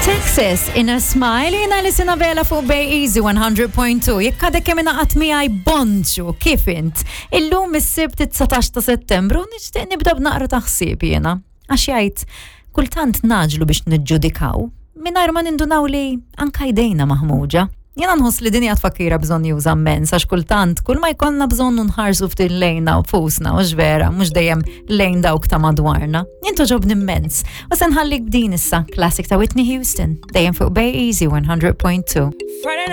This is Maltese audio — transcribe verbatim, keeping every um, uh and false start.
Texas in a Smile, jiena Alison Abela fuq Bay Easy one hundred point two. Jekk għadek kemm ingħaqadt miegħi, bonġu, kif int? Illum is-Sibt dsatax ta' Settembru, nixtieq nibda b'naqra ta' ħsieb jiena. Għax jgħid, kultant ngħaġġlu biex niġġudikaw, mingħajr ma nindunaw li anka jdejna maħmuġa. Jiena nħoss li din hija tfakkira bżonnjuża immens, għax kultant, kull ma jkollna bżonn nħarsu ftit lejna nfusna, u vera, mhux dejjem lejn dawk ta' madwarna. Jien togħġobni immens. U se nħallik b'din issa, classic ta' Whitney Houston, dejjem fuq Bay Easy one hundred point two. Friday.